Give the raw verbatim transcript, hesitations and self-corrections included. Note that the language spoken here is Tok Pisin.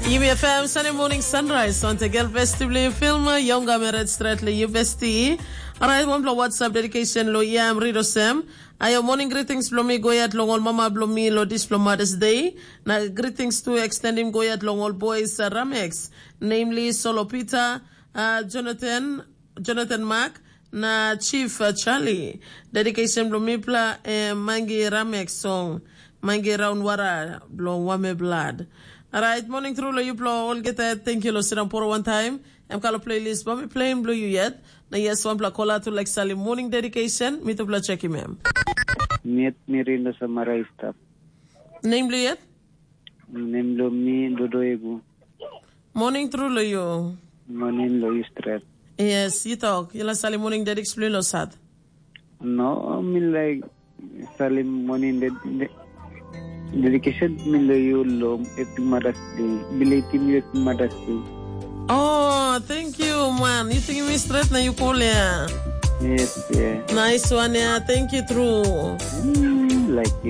Yumi F M Sunday Morning Sunrise. Once again, besti bli film, Yonga Meret Stretli, you besti. Alright, one blow WhatsApp dedication lo, yeah, I'm Rido Sem. Ayo morning greetings blo mi goyat long ol mama blo mi lo dis blo Mother's Day. Na greetings to extend him goyat long ol boys, uh, Ramex, namely Solo Peter, uh, Jonathan, Jonathan Mark, na Chief, uh, Charlie. Dedication blo mipla, eh, Mangi Ramex song. Mangi Raun Wara blo Wame Blood. Alright, morning through lo you blo all get that. Thank you lo sit down for one time. Em kalo playlist, ba mi playing blo you yet. Na yes, one pla kola tu like Sally morning dedication. Mi tu pla check him em. Miet mi rinda samarai stap. Name blo yet? Name blo mi Dodo Egu. Morning through lo you. Morning lo you straight. Yes, you talk. You la Sally morning dedication blo lo sat. No, mi like Salim morning de, de, dedication mi lo you lo happy Mother's Day. Belating you happy Mother's Day. Oh, thank you, man. You think me straight na you cool, yeah. Yes, yeah. Nice one, yeah. Thank you, true. Mm, like